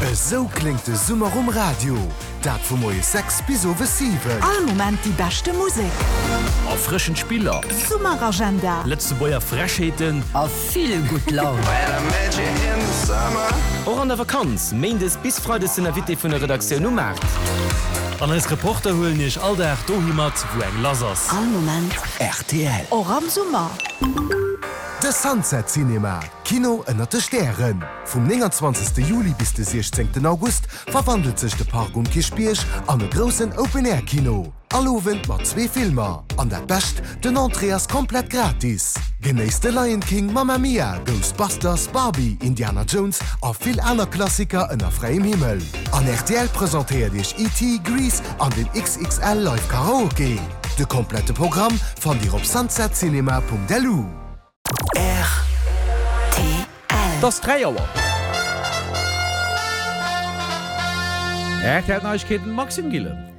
Esou kléngt de Summer um Radio, dat vu moies 6 bis owes 7. All Moment déi beschte Musek. Erfrëschend Spiller. Summeragenda. Lëtzebuerger Frechheeten. A vill gutt Laun. Och an der Vakanz, Méindes bis Freides den Invité vun der Redaktioun um Maart. An eis Reporter huelen iech all Dag dohi mat, wou eng lass ass. All Moment. Rtl. Och am Summer. De Sunset Cinema, Kino ënnert de Stären. Vum 29. Juli bis de 16. August verwandelt sech de Park um Kierchbierg an e groussen Open-Air-Kino. All Owend mat zwee Filmer. An dat Bescht, den Entrée ass komplett gratis! Genéisst de Lion King, Mamma Mia, Ghostbusters, Barbie, Indiana Jones a vill aner Klassiker ënner fräiem Himmel. An rtl presentéiert iech ET, Grease an den XXL Live Karaoke. De komplette Programm fannt dir op sunsetcinema.lu. Rtl. Et ass 3 Auer. RTL Neiegkeeten, Maxime Gillen.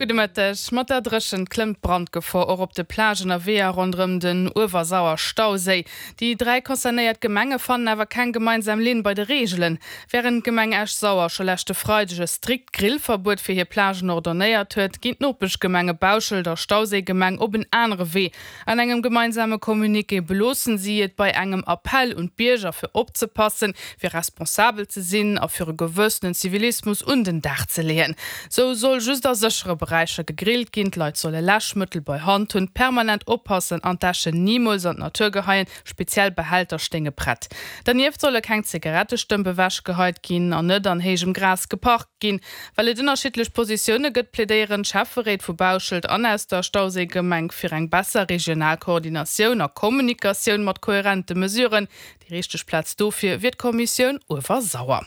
Gudde Mëtteg. Mat der Dréchent klëmmt d'Brandgefor och op de Plagen a Weeër ronderëm den Uewersauer-Stauséi. Déi 3 concernéiert Gemenge fannen awer keng gemeinsam Linn bei de Reegelen. Wärend d'Gemeng Esch-Sauer scho leschte Freideg e strikt Grillverbuet fir hir Plagen ordonnéiert huet, ginn d'Nopeschgemenge Bauschelt a Stauséigemeng op en anere Wee. An engem gemeinsame Communiqué beloossen si et bei engem Appell un d'Bierger fir opzepassen, fir responsabel ze sinn a fir e gewëssenen Zivilismus un den Dag ze leeën. Sou soll just a séchere Beräicher gegrillt ginn, d'Leit solle Läschmëttel bei Hand hunn, permanent oppassen an d'Äschen nimools an d'Natur geheien, speziell Behälter stéinge prett. Dernieft solle keng Zigarettestëmp ewechgeheit ginn an net an héijem Gras geparkt ginn. Well et ënnerschiddlech Positioune gëtt, plädéieren d'Schäfferéit vu Bauschelt an aus der Stauséigemeng fir eng besser regional Koordinatioun a Kommunikatioun mat kohärente Mesuren. Déi richteg Plaz dofir wier d'Kommissioun Uewersauer.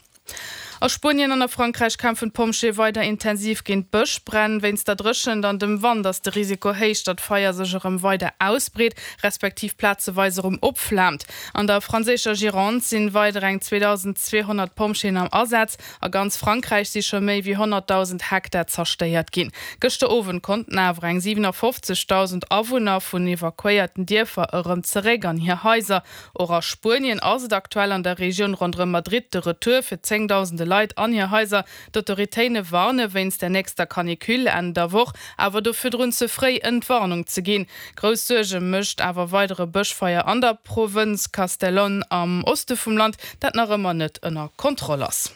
A Spuenien an a Frankräich kämpfen d'Pompjeeë weider intensiv géint d'Bëschbränn. Wéinst der Dréchent an dem Wand ass de Risiko héich, datt d'Feier sech erëm weider ausbreet, respektiv plazeweis erëm opflaamt. An der franséischer Gironde sinn weider eng 2.200 Pompjeeën am Asaz. A ganz Frankräich si scho méi wéi 100.000 Hektar zerstéiert ginn. Gëschter Owend konnten awer eng 57.000 Awunner vun evakuéierten Dierfer erëm zeréck an hir Haiser. Och a Spuenien ass et aktuell an der Regioun ronderëm Madrid de Retour fir zéngdausende Leit an hir Haiser. D'Autoritéine warne wéinst der nächster Canicule Enn der Woch awer do virdrun ze fréi Entwarnung ze ginn. Grouss Suerge mécht awer weider e Bëschfeier an der Provënz Castellón am Oste vum Land, dat nach ëmmer net ënner Kontroll ass.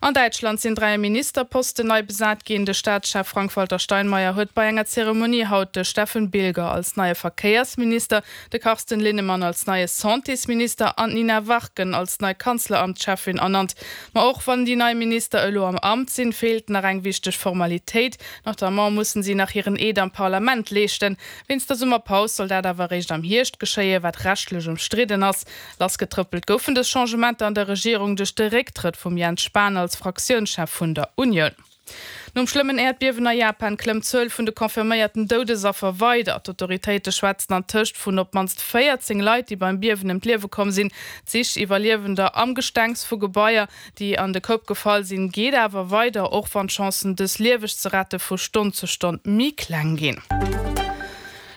An Däitschland sinn 3 Ministerposten nei besat ginn. De Staatschef Frank-Walter Steinmeier huet bei enger Zeremonie haut de Steffen Bilger als neie Verkéiersminister, de Carsten Linnemann als neie Santésminister an d'Nina Warken als nei Kanzleramtscheffin ernannt. Ma och wann déi nei Minister elo am Amt sinn, feelt nach eng wichteg Formalitéit, Notamment mussen si nach hiren Eed am Parlament leeschten. Wéinst der Summerpaus soll dat awer eréischt am Hierscht geschéien, wat rechtlech ëmstridden ass. Lassgetrëppelt goufen dës Changementer an der Regierung duerch de Récktrëtt vum Jens Spahn als Fraktiounschef vun der Unioun. Nom schlëmmen Äerdbiewen a Japan klëmmt d'Zuel vun de confirméierten Doudesaffer weider. D'Autoritéite schwätzen an tëscht vun op d'mannst 14 Leit, déi beim Biewen ëm d'Liewe komm sinn. D'Sich Iwwerliewender am Gestengs vu Gebaier, déi an de Koup gefall sinn, geet awer weider, och wann d'Chancen, dës lieweg ze rette vu Stonn zu Stonn méi kleng ginn.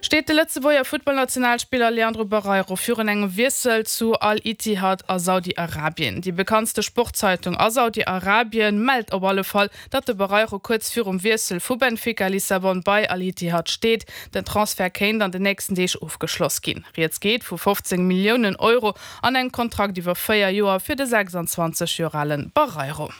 Steet de Lëtzebuerger Futtballnationalspiller Leandro Barreiro virun engem Wiessel zu Al-Ittihad a Saudi-Arabien? Déi bekanntste Sportzeitung a Saudi-Arabien mellt op alle Fall, datt de Barreiro kuerz virum Wiessel vu Benfica Lissabon bei Al-Ittihad steet. Den Transfert kéint an den nächsten Deeg ofgeschloss ginn. Rieds geet vu 15 Milliounen Euro an engem Kontrakt iwwer 4 Joer fir de 26 Joer ale Barreiro.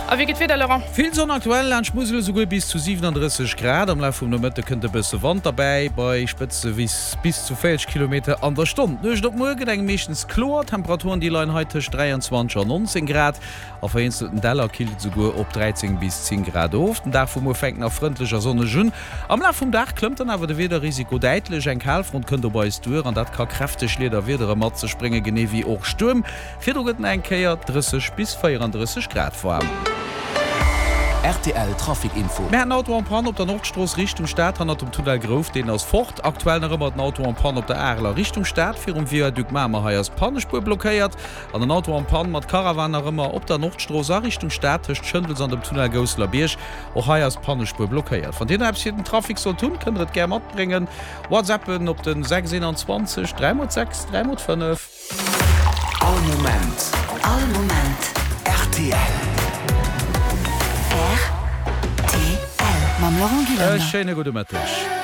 A wéi geet d'Wieder, Laurent? Vill Sonn aktuell, laanscht d'Musel esouguer bis zu 37 Grad. Am Laf vum Nomëtte kënnt e bësse Wand derbäi, bei Spëtze bis bis zu 40 Kilometer an der Stonn. D'Nuecht op muer gëtt engem meeschtens kloer, Temperaturen déi leien hei tëscht 23 an 19 Grad. A vereenzelten Däller killt et esouguer op 13 bis 10 Grad of. Den Dag vu muer fänkt nach frëndlech a sonneg un. Am Laf vum Dag klëmmt dann awer de Wiederrisiko däitlech. Eng Kalfront kënnt op eis duer an dat ka kräfteg Liederwiedere mat sech bréngen, genee wéi och Stuerm. Virdru gëtt nach eng Kéier 30 bis 34 Grad waarm. Rtl Trafic Info. Mir haten Auto en panne op der Nordstrooss Richtung Stad hannert dem Tunnel Grouf, deen ass fort. Aktuell nach ëmmer den Auto en panne op der Areler Richtung Stad virum Viaduc Mamer, hei ass d'Pannespuer blockéiert. An en Auto en panne mat Caravan nach ëmmer op der Nordstrooss a Richtung Stad tëscht Schëndels an dem Tunnel Gousselerbierg. Och hei ass d'Pannespuer blockéiert. Wann Dir nach eppes fir den Trafic sollt hunn, kënnt der et gär matbréngen. Whatsappen op den 6 21 3 x 6 3 x 5. All Moment. All Moment. Laurent E Gillen. schéine gudde Mëtteg.